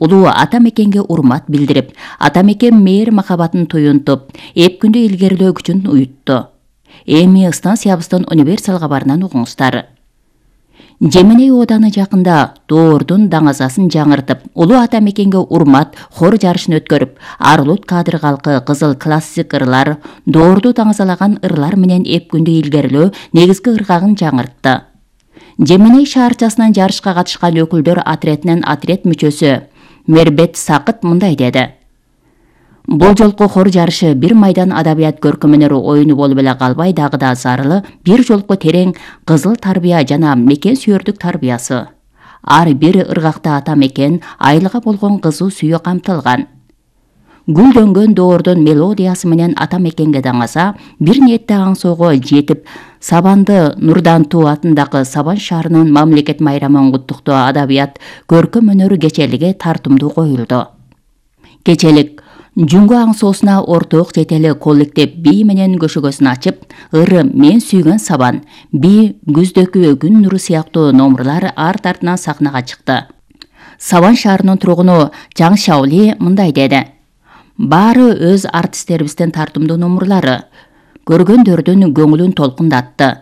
улуу ата мекенге урмат билдирип, ата мекен мээр махабатын туюнтуп, эпкүндү илгерилөө күчүн уютту. Эми станциябыздын универсал кабарынан угуңуздар. Жеменей ооданы жакында доордун даңазасын жаңыртып, улуу ата мекенге урмат хор жарышын өткөрүп, Арлут кадыр калкы кызыл классик ырлар, доорду даңазалаган ырлар менен эпкүндү илгерилөө негизги ыргагын жаңыртты. Жеменей шаарчасынан жарышка катышкан өкүлдөр отрядынын отряд мүчөсү Мербет Сакыт мындай деди. Бул жолку хор жарышы бир майдан адабият көркөм-өнөр оюну болуп эле калбай, дагы да зарылы бир жолку терең кызыл тарбия жана мекен сүйөрдүк тарбиясы. Ар бир ыргакта ата мекен, айылга болгон кызуу сүйүү камтылган. Гүлдөнгөн доордун мелодиясы менен ата мекенге даңаса, бир ниетте аңсоого жетип, Сабанды Нурдантуу атындагы Сабан шаарынын мамлекет майрамын куттуктоо адабият көркөм-өнөр кечелиги тартымдуу коюлду. Кечелик Жүнгө аңсоосуна орток жетели коллектив бий менен көшөгөсүн ачып, ыры мен сүйгөн Сабан, бий күздөгү күн нуру сыяктуу номурлар арт артынан сахнага чыкты. Сабан шаарынын тургуну Жаң Шаули мындай деди. Баары өз артисттерибиздин тартымдуу номурлары көргөндөрдүн көңүлүн толкундатты.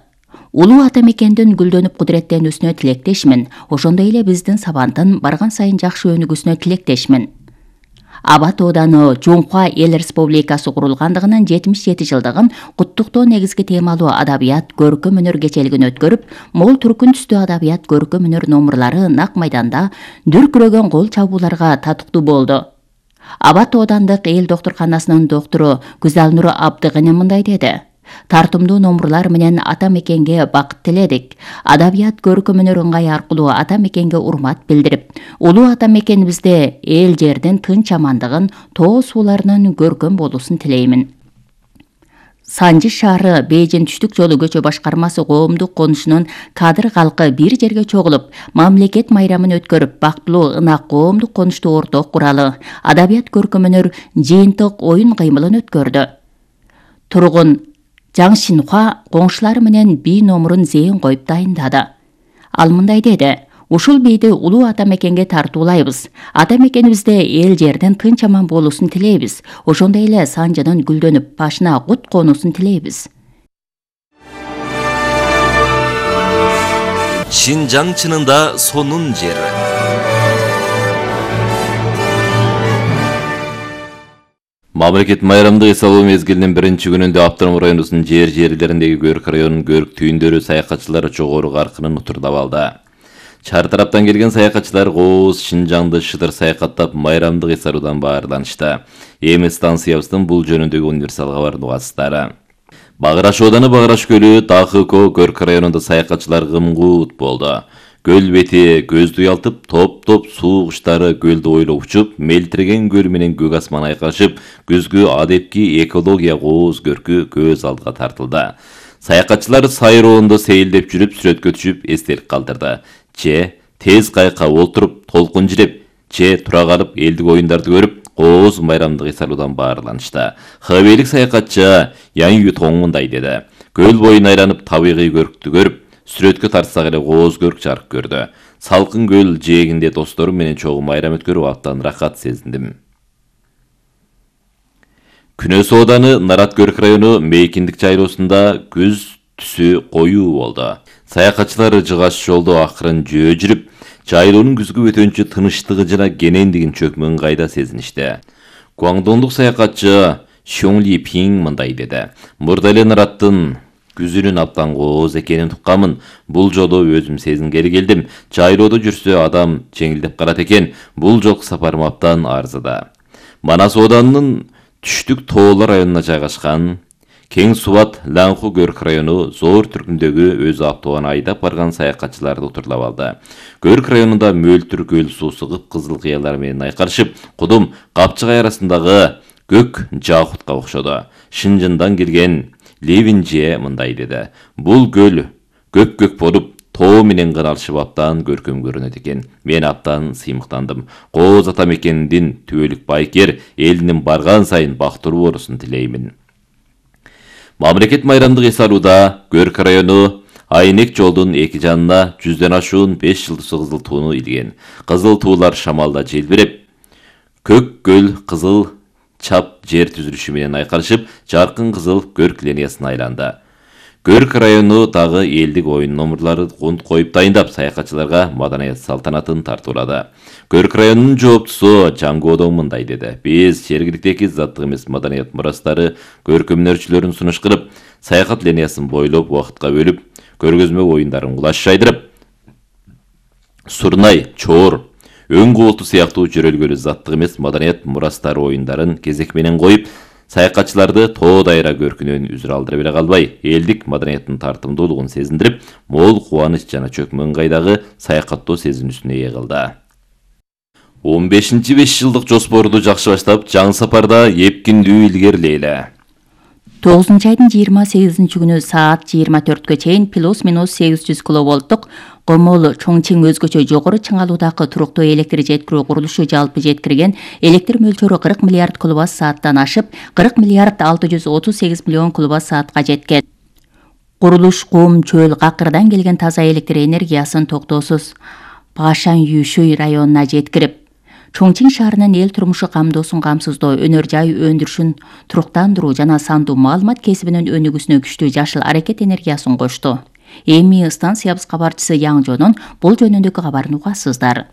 Улуу ата мекендин гүлдөнүп кудуреттенүүсүнө тилектешмин, ошондой эле биздин Сабандын барган сайын жакшы өнүгүүсүнө тилектешмин. Абат ооданы Жоңкуа эл республикасы курулгандыгынын 77 жылдыгын куттуктоо негизги темалуу адабият көркөм-өнөр кечелигин өткөрүп, мол түркүн түстүү адабият көркөм-өнөр номурлары нак майданда дүркүрөгөн кол чабууларга татыктуу болду. Абат оодандык эл доктурканасынын доктору Гүзалнур Абдыгыны мындай деди. Тартымдуу номурлар менен ата мекенге бакыт тиледик. Адабият көркөм-өнөр ыңгай аркылуу ата мекенге урмат билдирип, улуу ата мекенибизде эл жердин тынч амандыгын, тоо сууларынын көркөм болуусун тилеймин. Санжы шаары Бейжин түштүк жолу көчө башкармасы коомдук конушунун кадыр калкы бир жерге чогулуп, мамлекет майрамын өткөрүп, бактылуу ынак коомдук конушту орток куралы, адабият көркөм-өнөр жыйынтык оюн кыймылын өткөрдү. Тургун Жаң Шинхуа коңшулары менен бий номурун зээн коюп дайындады. Ал мындай деди. Ушул бийди улуу ата мекенге тартуулайбыз. Ата мекенибизде эл жерден тынч аман болуусун тилейбиз. Ошондой эле Санжынын гүлдөнүп, башына кут конуусун тилейбиз. Шинжаң чынында сонун жер. Мамлекет майрамдык эс алуу мезгилинин биринчи күнүндө Автоном районунун жерлериндеги Көрк районунун көрк түйүндөрү саякатчылар жогору каркынын утурдап алды. Чар тараптан келген саякатчылар Кооз, Шинжаңды шыдыр саякаттап майрамдык эс алуудан баарданышты. Эми станциябыздын бул жөнүндөгү универсал кабарын угасыздар. Багыраш ооданы Багыраш көлү Тахыко Көрк районунда саякатчылар кымгуут болду. Көл бети көздү уялтып, топ-топ суу куштары көлдү ойлоп учуп, мелтиреген көл менен көк асман айкашып, күзгү адепки экология Кооз көркү көз алдыга тартылды. Саякатчылар сайроонду сейилдеп жүрүп, сүрөткө түшүп, эстелик калтырды. Че тез кайка олтуруп, толкун жиреп, че тура калып, элдик оюндарды көрүп, Кооз майрамдык эс алуудан баарданышты. Хабейлик саякатчы Яң Ютоң мындай деди. Көл боюн айланып, табигый көрктү көрүп, сүрөткө тартсак эле Кооз көрк жарык көрдү. Салкын көл жээгинде досторум менен чогуу майрам өткөрүп абдан рахат сезиндим. Күнөс ооданы Нарат Көрк району Мейкиндик жайлоосунда күз түсү коюу болду. Саякатчылар жыгаш жолдо акырын жөө жүрүп, жайлоонун күзгү өтөнчү тынычтыгы жана кенендигин чөкмөн кайда сезиништи. Гуаңдондук саякатчы Шоңли Пинг мындай деди. Мурда эле Нараттын күзүнүн абдан Кооз экенин туккамын. Бул жолу өзүм сезингели келдим. Жайлоодо жүрсө адам жеңилдеп калат экен. Бул жолку сапарым абдан арзыда. Манас оодунун түштүк тоолор районуна жайгашкан Кең Субат Лаңху Көрк району Зоор түркүндөгү өз автообан айдап барган саякатчыларды утурлап алды. Көрк районунда мөлтүр көл суусу кып-кызыл кыялар менен айкарышып, Кудум Капчыгай арасындагы көк жаахутка окшоду. Шинжындан келген Левинже мындай деди. Бул көл көк-көк болуп, тоо менен кыналышып абдан көркөм көрүнөт экен. Мен абдан сыймыктандым. Кооз ата мекендин түбөлүк байкер элинин барган сайын бактылуу болуусун тилеймин. Мамлекет майрамдык эс алууда Көрк району Айнек жолдун эки жанына 100дөн ашуун 5 жылдысы кызыл тууну илген. Кызыл туулар шамалда желбиреп, көк көл кызыл чап жер түзүлүшү менен айкалышып, жаркын кызыл көрк линиясына айланды. Көрк району дагы элдик оюн номурлары коюп дайындап, саякатчыларга маданият салтанатын тартуулады. Көрк районунун жооптусу Жангоодон мындай деди: "Биз жергиликтеги заттык эмес маданият мурастары көркөмдөрчүлөрүн сунуштуруп, саякат линиясын бойлоп, убакытка бөлүп, көргөзмө оюндарын кулаш жайдырып, Сурнай, Чоор, Өң Кубулту сыяктуу жөрөлгөлүү заттык эмес маданият мурастары оюндарын кезек менен коюп, саякатчыларды тоо дайра көркүнөн үзүр алдырып эле калбай, элдик маданияттын тартымдуулугун сезиндирип, мол кубаныч жана чөкмө ыңгайдагы саякаттоо сезинүүсүнө ээ кылды. 15 5 жылдык жоспорду жакшы баштап, жаңы сапарда эпкиндүү илгерилейли. 9 айдын 28 күнү саат 24-кө чейин плюс-минус 800 киловольттук Комол Чоңчиң өзгөчө жогору чыңалуудагы туруктуу электр жеткирүү курулушу жалпы жеткирген электр мөлчөрү 40 миллиард киловатт сааттан ашып, 40 миллиард 638 миллион киловатт саатка жеткен. Курулуш Кум, Чөл, Какырдан келген таза электр энергиясын токтоосуз Пашан Юшуй районуна жеткирип, Чоңчиң шаарынын эл турмушу камдоосун камсыздоо, өнөр жай өндүрүшүн туруктандыруу жана сандуу маалымат кесибинин өнүгүүсүнө күчтүү жашыл аракет энергиясын кошту. Эми станциябыз кабарчысы Яң Жонун бул жөнүндөгү кабарын угасыздар.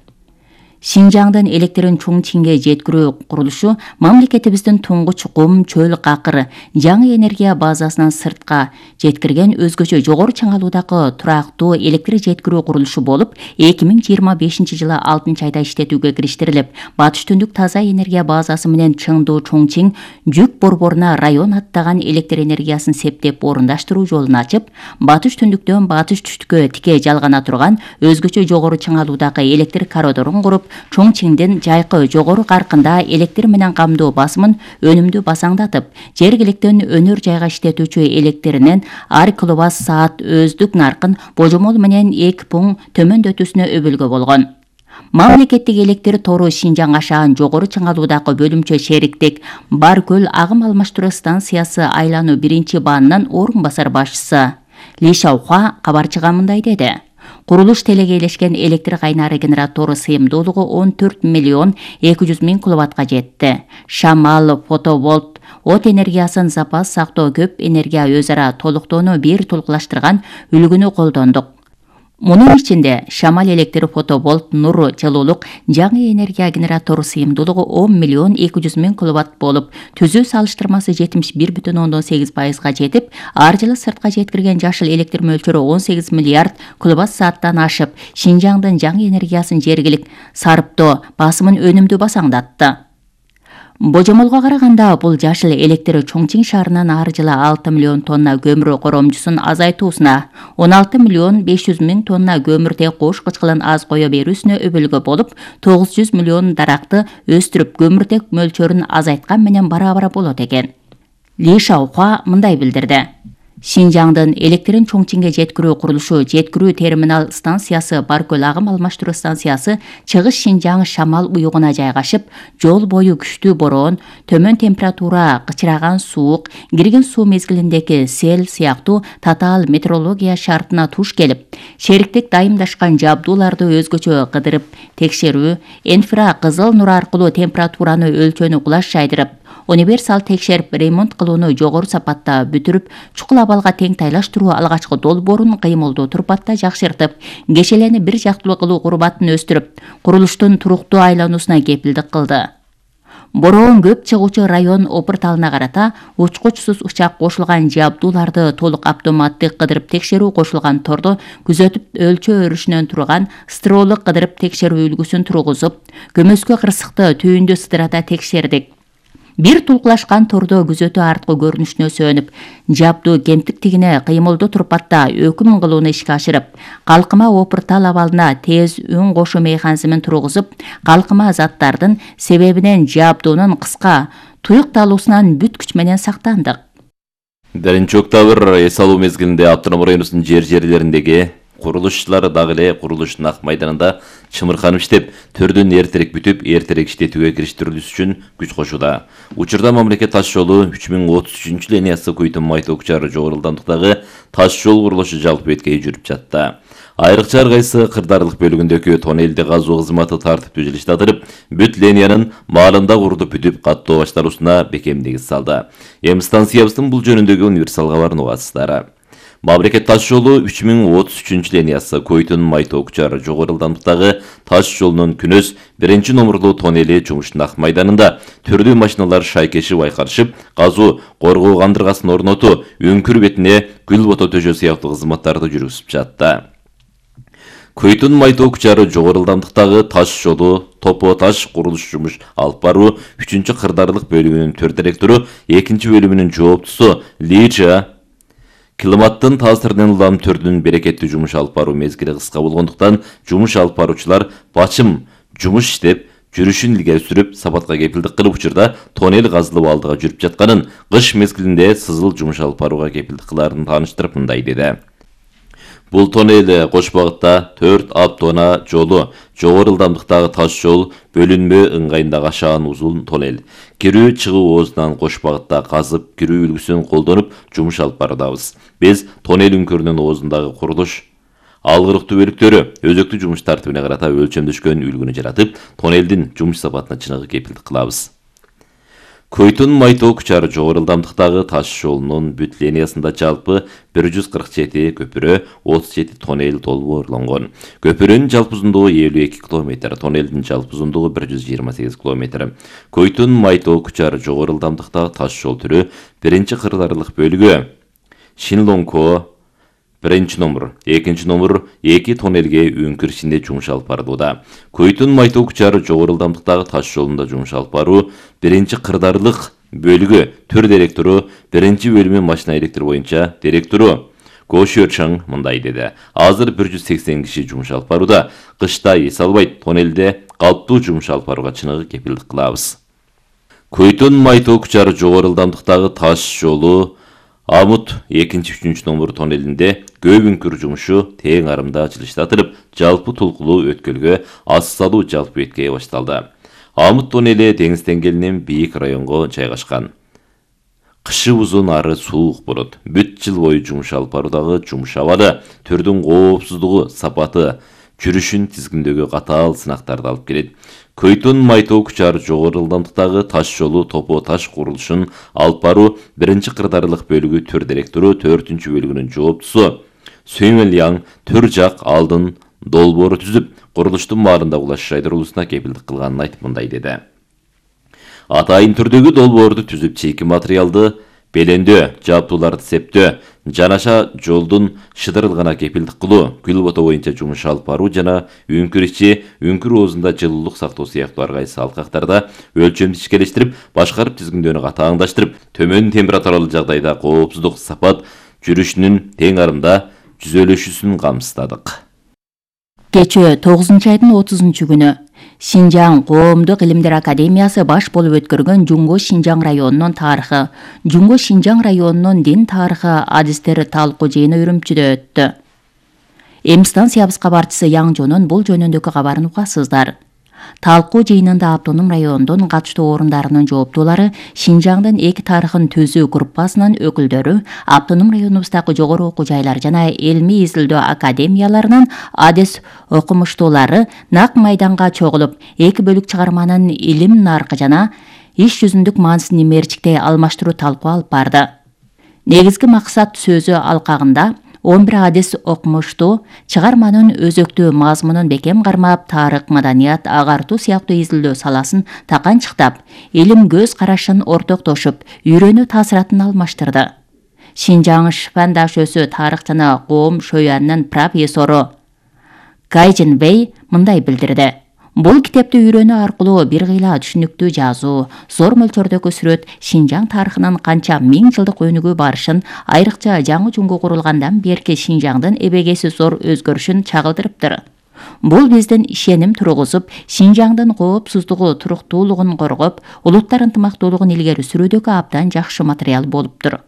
Шинжаңдын электрин Чоңчиңге жеткирүү курулушу мамлекетибиздин туңгуч Кум, Чөл, Какыр жаңы энергия базасынан сыртка жеткирген өзгөчө жогору чыңалуудагы турактуу электр жеткирүү курулушу болуп, 2025 жылы 6 айда иштетүүгө кириштирилип, батыш түндүк таза энергия базасы менен Чыңдуу Чоңчиң жүк борборуна район аттаган электр энергиясын септеп орундаштыруу жолун ачып, батыш түндүктөн батыш түштүккө тике жалгана турган өзгөчө жогору чыңалуудагы электр коридорун куруп, Чоңчиңдин жайкы жогору каркында электр менен камдоо басымын өнүмдүү басаңдатып, жергиликтен өнөр жайга иштетүүчү электринин ар киловатт саат өздүк наркын божомол менен 2 пункт төмөндөтүүсүнө өбөлгө болгон. Мамлекеттик электр тору Шинжаң ашаан жогору чыңалуудагы бөлүмчө шериктик Баркөл агым алмаштыруу станциясы айлануу 1-баанынын орун басар башчысы Ли Шаухуа кабарчыга мындай деди: Курулуш телегейлешкен электр кайнары генератору сыйымдуулугу 14 миллион 200 миң киловаттка жетти. Шамал, фотоволт, от энергиясын запас сактоо көп энергия өз ара толуктоону бир толукташтырган үлгүнү колдондук. Мунун ичинде шамал электр, фотоволт, нур, жылуулук жаңы энергия генератору сыйымдуулугу 10 миллион 200 миң киловатт болуп, түзүү салыштырмасы 71,8%га жетип, ар жылы сыртка жеткирген жашыл электр мөлчөрү 18 миллиард киловатт сааттан ашып, Шинжаңдын жаңы энергиясын жергилик сарыптоо басымын өнүмдүү басаңдатты. Божомолго караганда бул жашыл электр Чоңчиң шаарынан ар жылы 6 миллион тонна көмүр коромчусун азайтуусуна, 16 миллион 500 миң тонна көмүрдө кош кычкылын аз кое берүүсүнө өбөлгө болуп, 900 миллион даракты өстүрүп көмүрдек мөлчөрүн азайткан менен барабар болот экен. Ли Шаухуа мындай билдирди: Шинжаңдын электрин Чоңчиңге жеткирүү курулушу жеткирүү терминал станциясы Баркөл агым алмаштыруу станциясы Чыгыш Шинжаң шамал уюгуна жайгашып, жол бою күчтүү бороон, төмөн температура, кычыраган суук, кирген суу мезгилиндеги сел сыяктуу татаал метеорология шартына туш келип, шериктик дайымдашкан жабдууларды өзгөчө кыдырып текшерүү, инфракызыл нур аркылуу температураны өлчөөнү кулаш жайдырып, универсал текшерип ремонт кылууну жогору сапатта бүтүрүп, чукул абалга тең тайлаштыруу алгачкы долбоорун кыймылдуу турпатта жакшыртып, кешелени бир жактылуу кылуу курбатын өстүрүп, курулуштун туруктуу айлануусуна кепилдик кылды. Бороон көп чыгуучу район опурталына карата учкучсуз учак кошулган жабдууларды толук автоматтык кыдырып текшерүү кошулган тордо күзөтүп өлчөө өрүшүнөн турган строолук кыдырып текшерүү үлгүсүн тургузуп, көмөскө кырсыкты түйүндү сыдырата текшердик. Бир тулкулашкан тордо күзөтүү арткы көрүнүшүнө сөнүп, жабдуу кемтиктигине кыймылдуу турпатта өкүм кылууну ишке ашырып, калкыма опуртал абалына тез үн кошуу механизмин тургузуп, калкыма заттардын себебинен жабдуунун кыска туюкталуусунан бүт күч менен сактандык. 1-октябрь эс алуу мезгилинде Автоном районунун жерлериндеги курулушчулар дагы эле курулуштун ак майданында чымырканып иштеп, төрдөн эртерээк бүтүп, эртерээк иштетүүгө кириштирилүүсү үчүн күч кошууда. Учурда мамлекет таш жолу 3033 линиясы Куйтун Майток чары жогору ылдамдыктагы таш жол курулушу жалпы беткей жүрүп жатты. Айрыкча ар кайсы кырдаарлык бөлүгүндөгү тоннелди казуу кызматы тартиптүү жылыштатырып, бүт линиянын маалында курдуп бүтүп каттоо башталуусуна бекем негиз салды. Эми станциябыздын бул жөнүндөгү универсал кабарын угасыздар. Мамлекет таш жолу 3033 линиясы Көйтүн Майтоо Кучар жогору ылдамдыктагы таш жолунун күнөс 1-номерлуу тоннели жумуштун ак майданында түрдүү машиналар шайкешип айкалышып, казуу, коргоо кандыргасын орнотуу, үңкүр бетине гүл бото төшөө сыяктуу кызматтарды жүргүзүп жатты. Көйтүн Майтоо Кучар жогору ылдамдыктагы таш жолу Топо таш курулуш жумуш алып баруу 3-кырдаарлык бөлүмүнүн 4 директору, 2-бөлүмүнүн жооптусу Лижа климаттын таасиринен улам түрдүн берекеттүү жумуш алып баруу мезгили кыска болгондуктан жумуш алып баруучулар бачым жумуш иштеп, жүрүшүн илгери сүрүп, сапатка кепилдик кылып учурда тоннел казылып алдыга жүрүп жатканын, кыш мезгилинде сызыл жумуш алып барууга кепилдик кылаарын тааныштырып мындай деди. Бул тоннел кош багытта 4 автоунаа жолу, жогору ылдамдыктагы таш жол бөлүнмө ыңгайындагы ашаан узун тоннел. Кирүү чыгуу оозунан кош багытта казып, кирүү үлгүсүн колдонуп жумуш алып баруудабыз. Биз тоннел үңкүрүнүн оозундагы курулуш алгырыктуу бөлүктөрү өзөктүү жумуш тартибине карата өлчөмдөшкөн үлгүнү жаратып, тоннелдин жумуш сапатына чыныгы кепилдик кылабыз. Көйтүн Майтоо Кучар жогору ылдамдыктагы таш жолунун бүт линиясында жалпы 147 көпүрө, 37 тоннел долбоорлонгон. Көпүрөнүн жалпы узундугу 52 км, тоннелдин жалпы узундугу 128 км. Көйтүн Майтоо Кучар жогору ылдамдыктагы таш жол түрү 1-кырдаарлык бөлүгү Шинлонко 1-номер, 2-номер 2 тоннелге үңкүр ичинде жумуш алып барууда. Көйтүн Майтоо Кучар жогору ылдамдыктагы таш жолунда жумуш алып баруу 1-кырдаарлык бөлүгү төр директору, 1-бөлүмү машина электр боюнча директору Гошөрчаң мындай деди. Азыр 180 киши жумуш алып барууда. Кышта эс албайт, тоннелде калыптуу жумуш алып барууга чыныгы кепилдик кылабыз. Көйтүн Майтоо Кучар жогору ылдамдыктагы таш жолу Амут 2-3 номер тоннелинде көп үңкүр жумушу тең арымда жылыштатылып, жалпы толкулуу өткөлгө аз салуу жалпы беткейе башталды. Амут тоннели деңиз деңгээлинен бийик районго жайгашкан. Кышы узун ары суук болот. Бүт жыл бою жумуш алып баруудагы жумуш абалы, түрдүн коопсуздугу, сапаты, жүрүшүн тизгиндөгү катаал сынактарды алып келет. Көйтүн Майтоо Кучар жогору ылдамдыктагы таш жолу Топо таш курулушун алып баруу 1-кырдаарлык бөлүгү төр директору, 4-бөлүгүнүн жооптусу Сөймөляң төр жак алдын долбоору түзүп, курулуштун маалында улаш жайдырылуусуна кепилдик кылганын айтып мындай деди. Атайын түрдөгү долбоорду түзүп, чийки материалды белендөө, жабдууларды септөө, жанаша жолдун шыдырылгана кепилдик кылуу, гүл бото боюнча жумуш алып баруу жана үңкүр ичи, үңкүр оозунда жылуулук сактоо сыяктуу ар кайсы алкактарда өлчөмдү ичкелештирип, башкарып тизгиндөөнү катааңдаштырып, төмөн температуралуу жагдайда коопсуздук, сапат, жүрүшүнүн тең арымда жүзөлөшүүсүн камсыздадык. Кечээ 9-айдын 30-күнү Шинжаң Коомдук Илимдер Академиясы баш болуп өткөргөн Жунго Шинжаң районунун тарыхы, Жунго Шинжаң районунун дин тарыхы адистер талкуу жыйыны Үрүмчүдө өттү. Эми станциябыз кабарчысы Яңжонун бул жөнүндөгү кабарын угасыздар. Талкуу жыйынында автоном райондун катыштуу орундарынын жооптуулары, Шинжаңдын эки тарыхын түзүү группасынын өкүлдөрү, автоном районубуздагы жогору окуу жайлар жана илмий изилдөө академияларынын адис окумуштуулары нак майданга чогулуп, эки бөлүк чыгарманын илим наркы жана иш жүзүндүк маанисин мерчиктей алмаштыруу талкуу алып барды. Негизги максат сөзү алкагында 11 адис окумуштуу чыгарманын өзөктүү мазмунун бекем кармап, тарых, маданият, агартуу сыяктуу изилдөө саласын таканчыктап, илим көз карашын ортоктошуп, үйрөнүү таасиратын алмаштырды. Шинжаң Шпандаш өсү тарых жана коом шөянынын профессору Гайжин Вэй мындай билдирди. Бул китепти үйрөнүү аркылуу бир кыйла түшүнүктүү жазуу, зор мөлчөрдөгү сүрөт Шинжаң тарыхынын канча миң жылдык өнүгүү барышын, айрыкча жаңы Жунго курулгандан берки Шинжаңдын эбегеси зор өзгөрүшүн чагылдырыптыр. Бул биздин ишеним тургузуп, Шинжаңдын коопсуздугу, туруктуулугун коргоп, улуттар ынтымактуулугун илгери сүрүүдөгү абдан жакшы материал болуптур.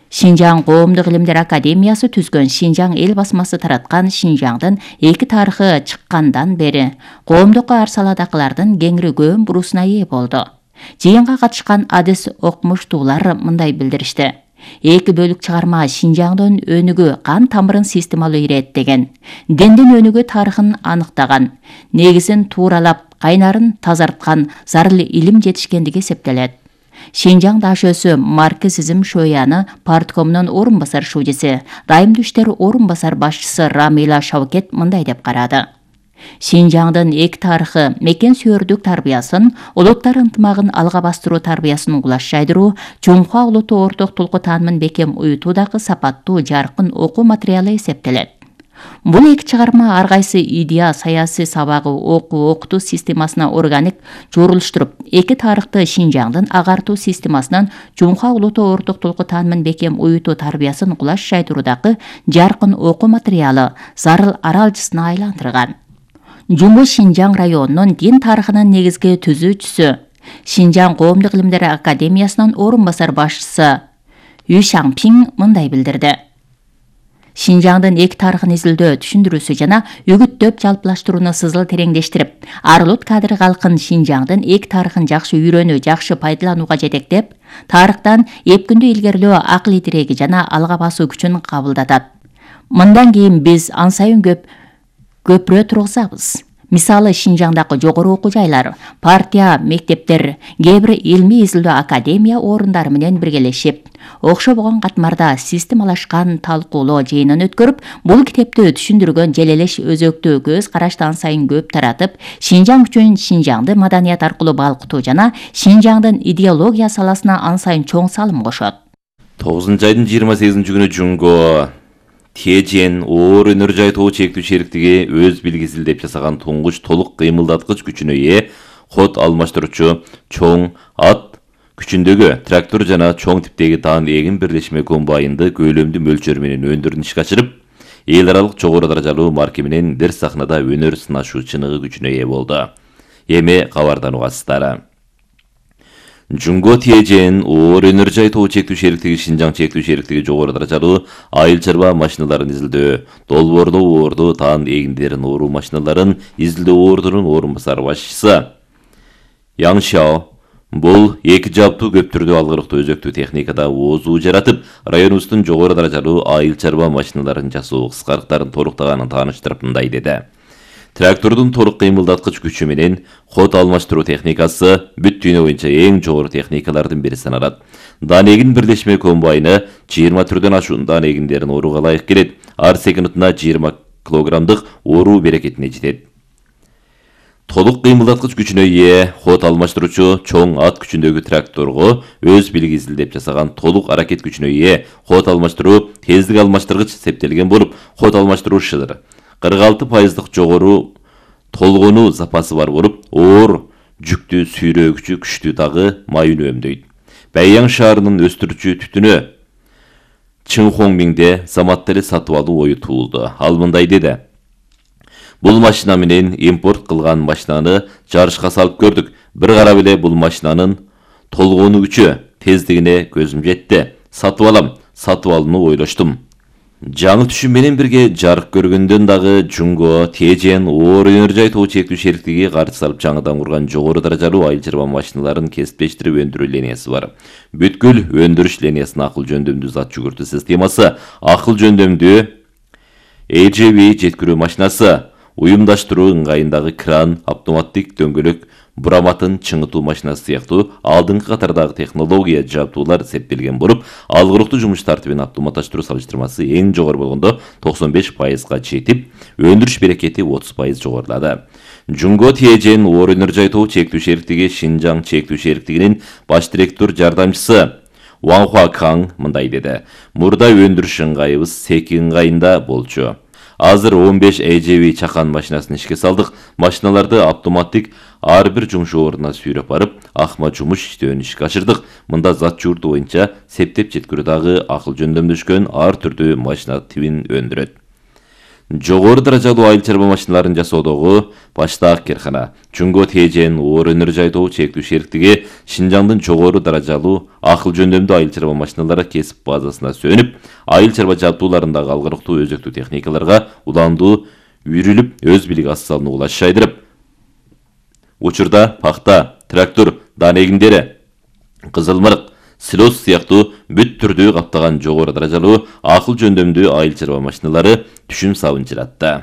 Шинжаң Коомдук Илимдер Академиясы түзгөн Шинжаң эл басмасы тараткан Шинжаңдын эки тарыхы чыккандан бери коомдук ар саладагылардын кеңири көм буруусуна ээ болду. Жыйынга катышкан адис окумуштуулар мындай билдиришти. Эки бөлүк чыгарма Шинжаңдын өнүгүү кан тамырын системалуу иреттеген. Дендин өнүгүү тарыхын аныктаган. Негизин тууралап, кайнарын тазарткан зарыл илим жетишкендиги эсептелет. Шинжаң дашөсү марксизм шояны парткомунун орун басар шуудиси, дайымдуу иштер орун басар башчысы Рамила Шавкет мындай деп карады. Шинжаңдын эки тарыхы мекен сүйөрдүк тарбиясын, улуттар ынтымагын алга бастыруу тарбиясын угулаш жайдыруу, Жумха улуттуу орток толку таанымын бекем уютуудагы сапаттуу жаркын окуу материалы эсептелет. Бул эки чыгарма ар кайсы идея, саясий сабагы, окуу системасына органик жорулуштуруп, эки тарыхты Шинжаңдын агартуу системасынан Жумха улуттуу орток толку таанымын бекем уютуу тарбиясын угулаш жайдыруудагы жаркын окуу материалы зарыл аралжысына айландырган. Жуму Шинжаң районунун дин тарыхынын негизги түзүүчүсү, Шинжаң коомдук илимдер академиясынын орун басар башчысы Ю Шаңпиң мындай билдирди. Шинжаңдын эки тарыхын изилдөө, түшүндүрүүсү жана үгүттөп жалпылаштырууну сызыл тереңдештирип, ар улут кадыр калкын Шинжаңдын эки тарыхын жакшы үйрөнүү, жакшы пайдаланууга жетектеп, тарыхтан эпкүндүү илгерилөө акыл тиреги жана алга басуу күчүн кабылдатат. Мындан кийин биз ан сайын көпүрө тургузабыз. Мисалы Шинжаңдагы жогору окуу жайлар, партия, мектептер, кээ бир илмий изилдөө академия орундары менен биргелешип, окшобогон катмарда системалашкан талкуулоо жыйынын өткөрүп, бул китепти түшүндүргөн желелеш өзөктүү көз карашты ан сайын көп таратып, Шинжаң үчүн Шинжаңды маданият аркылуу балкытуу жана Шинжаңдын идеология саласына ан сайын чоң салым кошот. 9-айдын 28-күнү Жунго Тежен оор өнөр жайтоо чектүү шериктиги өз билгисилдеп жасаган туңгуч толук кыймылдаткыч күчүнө ээ код алмаштыруучу чоң ат күчүндөгү трактор жана чоң типтеги таан эгин бирлешме комбайнды көйлөмдүү мөлчөрү менен өндүрүн ишке ашырып, эл аралык жогору даражалуу марка менен дер сахнада өнөр сынашуу чыныгы күчүнө ээ болду. Эми кабардан угасыздар. Жунго Тежен оор өнөр жайтоо чектүү шериктиги Шинжаң чектүү шериктиги жогору даражалуу айыл чарба машиналарын изилдөө, долбоордоо оорду таан эгиндерин ооруу машиналарын изилдөө оордунун орун басар башчысы Яң Шао бул эки жаптуу көп түрдүү алгырыктуу өзөктүү техникада оозуу жаратып, районубуздун жогору даражалуу айыл чарба машиналарын жасоо кыскарыктарын торуктаганын тааныштырып мындай деди. Трактордун толук кыймылдаткыч күчү менен код алмаштыруу техникасы бүт дүйнө боюнча эң жогору техникалардын бири саналат. Дан эгин бирлешме комбайны 20 түрдөн ашуун дан эгиндерин орууга ылайык келет. Ар секундуна 20 килограммдык оруу берекетине жетет. Толук кыймылдаткыч күчүнө ээ код алмаштыруучу чоң ат күчүндөгү тракторго өз билгисилдеп жасаган толук аракет күчүнө ээ код алмаштыруу тездик алмаштыргыч септелген болуп, код алмаштыруу шыдыр 46% жогору толгонуу запасы бар болуп, оор жүктү сүйрөгүчү күчтүү дагы май үнөмдөйт. Бэйяң шаарынын өстүрүүчү түтүнө Чыңхоңмиңде заматта эле сатып алуу ою туулду. Ал мындай деди. Бул машина менен импорт кылган машинаны жарышка салып көрдүк. Бир карап эле бул машинанын толгонуу күчү, тездигине көзүм жетти. Сатып алууну ойлоштум. Жаңы түшүм менен бирге жарык көргөндөн дагы Жунго Тежен оор өнөр жайтоо чектүү шериктиги каржы салып жаңыдан курган жогору даражалуу айыл чарба машиналарын кесиптештирип өндүрүү линиясы бар. Бүткүл өндүрүш линиясынын акыл жөндөмдүү зат жүгүртүү системасы, акыл жөндөмдүү AGV жеткирүү машинасы, уюмдаштыруу ыңгайындагы кран, автоматтык дөңгөлөк бураматын чыңытуу машинасы сыяктуу алдыңкы катардагы технология жабдуулар септелген болуп, алгырыктуу жумуш тартибин автоматташтыруу салыштырмасы эң жогору болгондо 95%га жетип, өндүрүш берекети 30% жогорулады. Жунго Тежен оор өнөр жайтоо чектүү шериктиги Шинжаң чектүү шериктигинин баш директор жардамчысы Ванхуа Каң мындай деди. Мурда өндүрүш ыңгайыбыз Секи ыңгайында болчу. Азыр 15 AGV чакан машинасын ишке салдык. Машиналарды автоматтык ар бир жумуш ордуна сүйрөп барып, акма жумуш иштөөнү ишке ашырдык. Мында зат жуурту боюнча септеп жеткирүү дагы акыл жөндөмдөшкөн ар түрдүү машина тибин өндүрөт. Жогору даражалуу айыл чарба машиналарын жасоодогу баштаак керкана Жунго Тежен оор өнөр жайтоо чектүү шериктиги Шинжаңдын жогору даражалуу акыл жөндөмдүү айыл чарба машиналары кесип базасына сөнүп, айыл чарба жабдууларындагы алгырыктуу өзөктүү техникаларга уландуу үйрүлүп, өз билик асалын угулаш жайдырып, учурда пахта, трактор, дан эгиндери, кызылмырык, силос сыяктуу бүт түрдүү каптаган жогору даражалуу акыл жөндөмдүү айыл чарба машиналары түшүм сабын жыратты.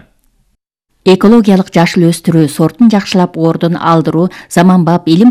Экологиялык жашыл өстүрүү, сортун жакшылап ордун алдыруу, заманбап илим